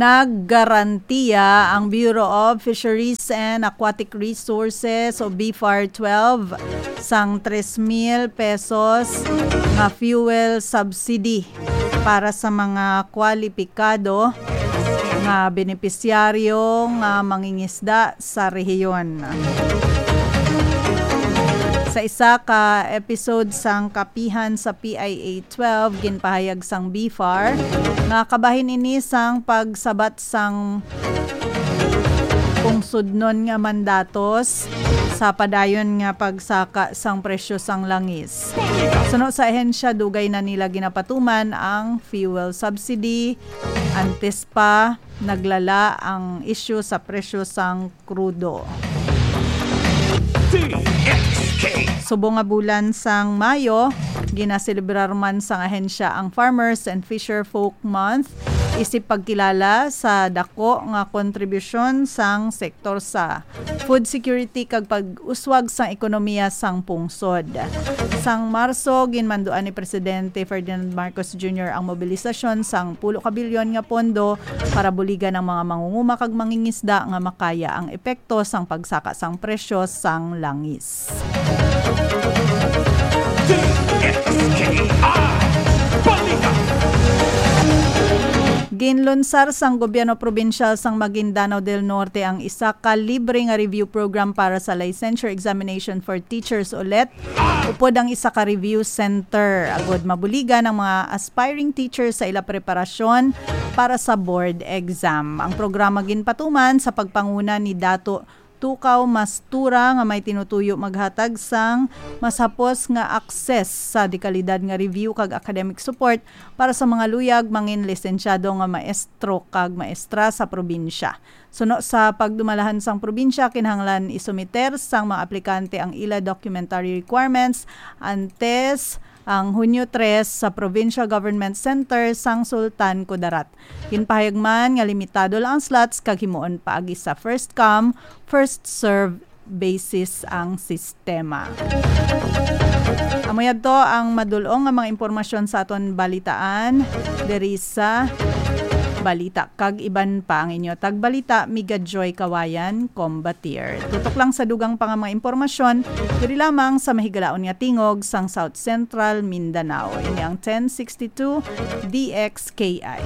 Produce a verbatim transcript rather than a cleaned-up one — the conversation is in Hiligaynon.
Naggarantiya ang Bureau of Fisheries and Aquatic Resources o BFAR twelve sang tres mil pesos nga fuel subsidy para sa mga kwalipikado nga benepisyaryo nga mangingisda sa rehiyon. Sa isa ka episode sang kapihan sa P I A twelve, ginpahayag sang BFAR nga kabahin ini sang pagsabat sang pungsodnon nga mandatos sa padayon nga pagsaka sang presyo sang langis. Suno sa ahensya, dugay na nila ginapatuman ang fuel subsidy antes pa naglala ang isyu sa presyo sang krudo. Subong nga bulan sang Mayo, ginaselebrar man sang ahensya ang Farmers and Fisher Folk Month, isip pagkilala sa dako nga kontribusyon sang sektor sa food security kag pag-uswag sang ekonomiya sang pungsod. Sang Marso, ginmanduan ni Presidente Ferdinand Marcos Junior ang mobilisasyon sang pulo ka bilyon nga pondo para buligan ang mga mangunguma kag mangingisda nga makaya ang epekto sang pagsaka sang presyo sang langis. D X K I Balita. Ginlunsar sang gobyerno probinsyal sang Maguindanao del Norte ang isa ka libre nga review program para sa licensure examination for teachers o let, upod ang isa ka review center, agod mabuligan ang mga aspiring teachers sa ila preparasyon para sa board exam. Ang programa ginpatuman sa pagpanguna ni Dato Tukaw Mastura, nga may tinutuyo maghatag sang mas hapos nga access sa dekalidad nga review kag academic support para sa mga luyag mangin lisensyado nga maestro kag maestra sa probinsya. Suno sa pagdumalahan sang probinsya, kinahanglan isumiter sang mga aplikante ang ila documentary requirements antes ang Hunyo tres sa Provincial Government Center sang Sultan Kudarat. Ginpahayag man nga limitado lang ang slots kag himuon paagi sa first come, first serve basis ang sistema. Amo yadto ang madul-ong nga mga impormasyon sa aton balitaan diri sa Balita kag iban pa. Ang inyo tagbalita, Miga Joy Kawayan, Combatier. Tutok lang sa dugang pa nga mga impormasyon diri lamang sa mahigalaon nga tingog sang South Central Mindanao. Ini ang ten sixty-two D X K I.